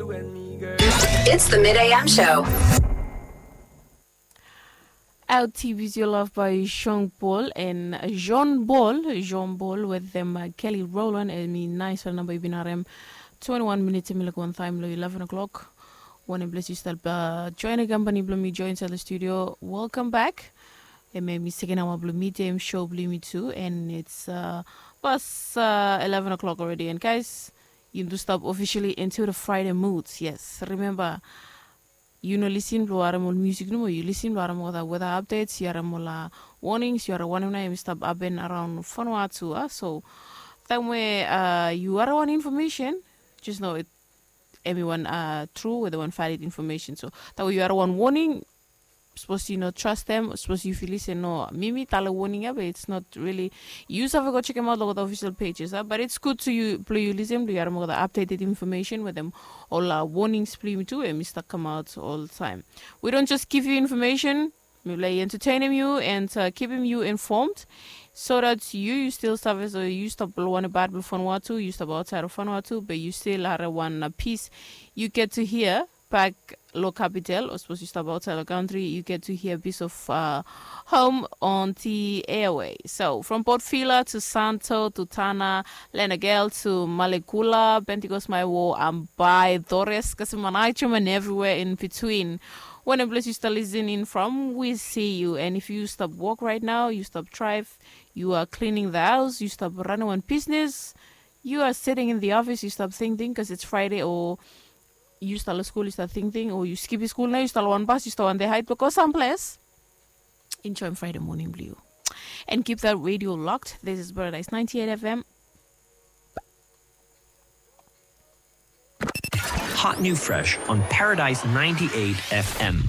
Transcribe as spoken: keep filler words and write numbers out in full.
It's the Mid A M show. Out T V's Your Love by Jean Paul and Jean Paul, Jean Paul with them uh, Kelly Rowland and mi nice namba yu bin harem twenty-one minutes and mi like one time lo eleven o'clock. Wanem ples yu stap uh, join a company blo mi join inside the studio. Welcome back. Em mi second hour blo mi dem show blo mi too and it's uh, past uh, eleven o'clock already and guys, you do stop officially into the Friday moods. Yes, remember you no listen blo harem ol music nomo, you listen blo harem ol weather updates, you harem ol uh, warnings, you harem wanem na em stop happen around Vanuatu. Uh, so time where uh, you harem one information, just know it everyone uh, true with one valid information. So that way you harem one warning, suppose you no trust them, suppose you feel listen no mimi tale warning ya, but it's not really you save go check them out lo the official pages uh, but it's good to you blo you listen blo you harem the updated information with them all uh, warnings blo you too and Mr. Come out all the time. We don't just give you information, we like entertaining you and uh, keeping you informed so that you you still save so you stop one bad before Vanuatu, you stop outside of Vanuatu, but you still are one uh, piece you get to hear back lo capital, or suppose you stop outside the country, you get to hear a piece of uh, home on the airway. So from Port Vila to Santo to Tana, Lenagel to Malekula, Pentecost, my war, and by Dores, Kasimanaichum, and everywhere in between. When a place you start listening from, we see you. And if you stop work right now, you stop drive, you are cleaning the house, you stop running one business, you are sitting in the office, you stop thinking because it's Friday or you start school, you start thinking, or you skip school now, you start one bus, you start one day hide because some place. Enjoy Friday morning, Blue. And keep that radio locked. This is Paradise ninety-eight F M. Hot new fresh on Paradise ninety-eight F M.